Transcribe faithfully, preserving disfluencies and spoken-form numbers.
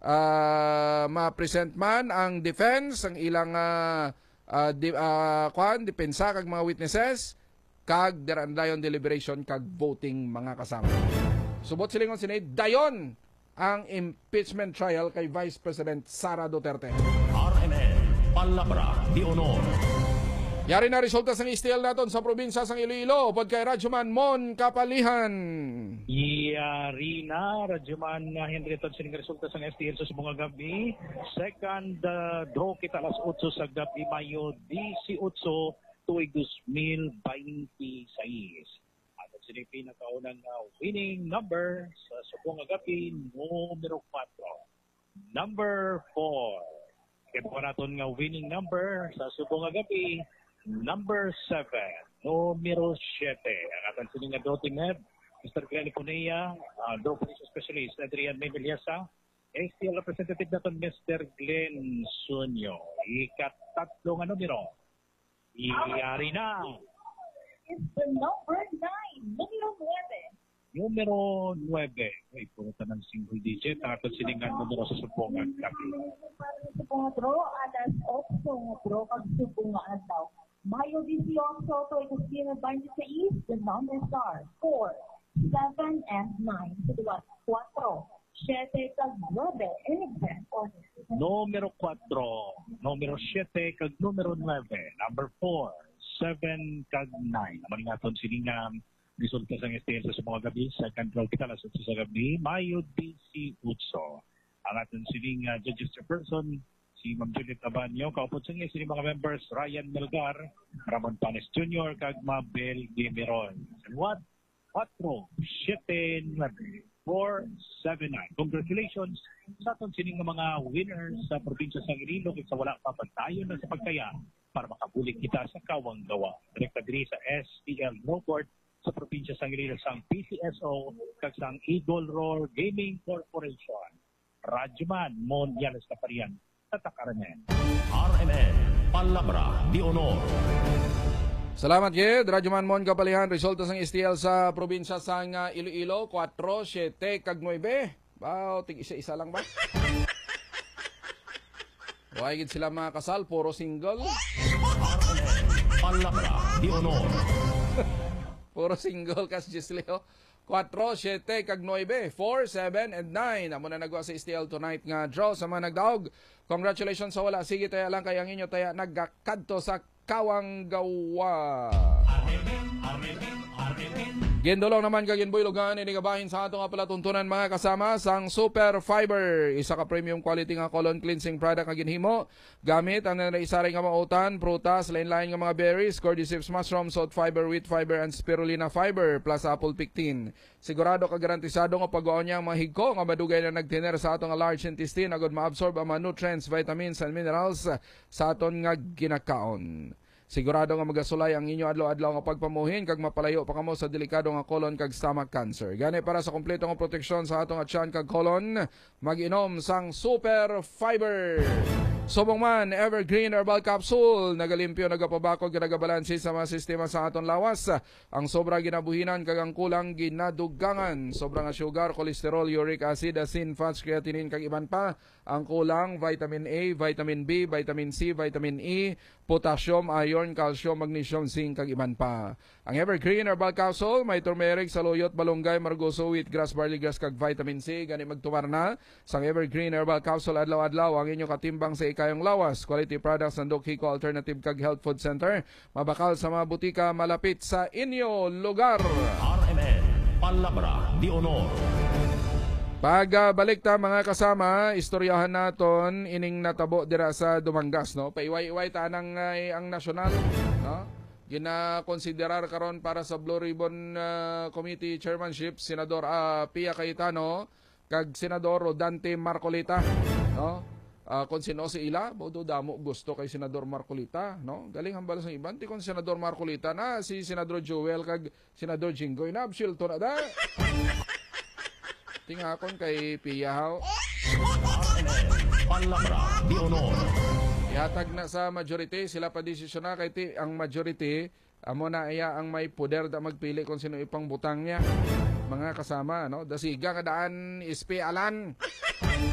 ah, ma-present man ang defense, ang ilang, ah, ah, di, ah, kwan, depensa kag mga witnesses, kag dira na dayon deliberation kag voting, mga kasama. Subot silingon sini, dayon ang impeachment trial kay Vice President Sara Duterte. R M N, Palabra de Honor. Yari na resulta sang S T L naton sa probinsya sang Iloilo, upod kay Radyoman Mon Kapalihan. Yari na, Radyoman Henry, tod sining resulta sang S T L sa subong nga gab-i. Second, uh, draw kita alas otso sa gab-i, Mayo dieciocho, tuig dos mil veintiseis. Ato sini pinakaunang, uh, winning number sa subong nga gab-i, numero kuwatro. Number four. Kay buka naton nga winning number sa subong nga gab-i, number seven, numero siyete. Ang aton sini nga draw team head, Mister Glenn Cunea, uh, draw police specialist, Adrian May Meliasa, S T L representative naton, Mister Glenn Sunyo. Ikatatlo nga numero. Yari na. Is the number nine, numero nuebe. Numero nuebe. Ay, puro tanang single digit. Ang aton sini nga numero sa subong nga gab-i. Para sa mga draw, alas otso nga draw kag subong nga adlaw. Mayo dieciocho, tuig dos mil veintiseis, the numbers are four, seven, and nine. Sa duwa, kuwatro, siyete, kag nuebe, in exact order. Numero kuwatro, numero siyete, kag numero nuebe. Number four, seven, kag nine. Amo ni nga aton sini nga resulta sang S T L sa subong nga gab-i. Second draw kita alas otso sa gab-i, Mayo dieciocho. Ang aton sini nga judges chairperson, si Ma'am Juliet Abanyo, kaupod sang iya sini mga members, Ryan Melgar, Ramon Panes Junior, kag Mabel Guimiron. What? Kuwatro, siyete, nuebe, four, seven, nine. Congratulations sa aton sini nga mga winners sa probinsya sang Iloilo, kag sa wala pa, padayon na sa pagtaya para makabulig kita sa Kawang Gawa. Direkta diri sa S T L Draw Court sa probinsya sang Iloilo, sang P C S O, kag sang Eagle Roar Gaming Corporation. Radyoman Mon Yanes Kaparian, Tatak R M N. R M N, Palabra de Honor. Salamat gid, Radyoman Mon Kapalihan. Resulta sang S T L sa probinsya sang, ah, Iloilo, kuwatro, siyete, kag nuebe. Wow, tig isa-isa lang ba? Why gid sila mga kasal? Puro single. Palabra de Honor. Puro single kas Gisli, oh. Kuwatro, siyete, kag nuebe. Four, seven, and nine. Amo na nagwa sa S T L tonight nga draw sa mga nagdaog. Congratulations sa wala. Sige, taya lang kay ang inyo taya nagakadto sa Kawang Gawa. Gindulong naman kag ginbuylogan ini nga bahin sa ato nga palatuntunan, mga kasama, sang Super Fiber, isa ka premium quality nga colon cleansing product nga ginhimo gamit ang nanaisaray nga mautan, prutas, lain-lain nga mga berries, cordyceps mushroom, salt fiber, wheat fiber, and spirulina fiber, plus apple pectin. Sigurado kag garantisado nga pagwaon niya ang mga higko nga madugay na nagtener sa aton nga large intestine, agud ma-absorb ang mga nutrients, vitamins, and minerals sa aton nga ginakaon. Sigurado nga magasulay ang inyo adlaw-adlaw nga pagpamuhin kag mapalayo pa kamo sa delikado nga colon kag stomach cancer. Gani, para sa kompleto nga proteksyon sa ato nga tiyan kag colon, mag-inom sang Super Fiber. Subong man, Evergreen Herbal Capsule, nagalimpyo, nagapabakod, kag nagabalansi sa mga sistema sa aton lawas. Ang sobra ginabuhinan kag ang kulang ginadugangan. Sobra nga sugar, cholesterol, uric acid, asin, fats, creatinine, kag iban pa. Ang kulang, vitamin A, vitamin B, vitamin C, vitamin E, potassium, iron, calcium, magnesium, zinc, kag iban pa. Ang Evergreen Herbal Capsule may turmeric, saluyot, balunggay, margoso, wheatgrass, barleygrass, kag vitamin C. Gani, magtumar na sang Evergreen Herbal Capsule adlaw-adlaw, ang inyo katimbang sa ikayong lawas. Quality products sang Doc Hico Alternative kag Health Food Center. Mabakal sa mga butika malapit sa inyo lugar. R M N, Palabra de Honor. Pagbalik ta, mga kasama, istoryahan naton ining natabo dira sa Dumangas, no? Paiway-iway ta anang, ay, ang nasyonal, no? Ginakonsiderar karon para sa Blue Ribbon, ah, Committee Chairmanship, Senador, ah, Pia Cayetano kag Senador Rodante Marcoleta, no? Ah, kung sino si ila, bodo damo gusto kay Senador Marcoleta, no? Galing hambal sa iban, ti kung Senador Marcoleta na, si Senador Joel kag Senador Jinggoy na, absuelto na da. Tingakon kay Pia, haw. Palabra de Honor. Ihatag na sa majority, sila pa desisyon na kay ti ang majority, amo na iya ang may poder da magpili kung sino ipangbutang niya. Mga kasama, no? Dasiga nga daan, S P Alan.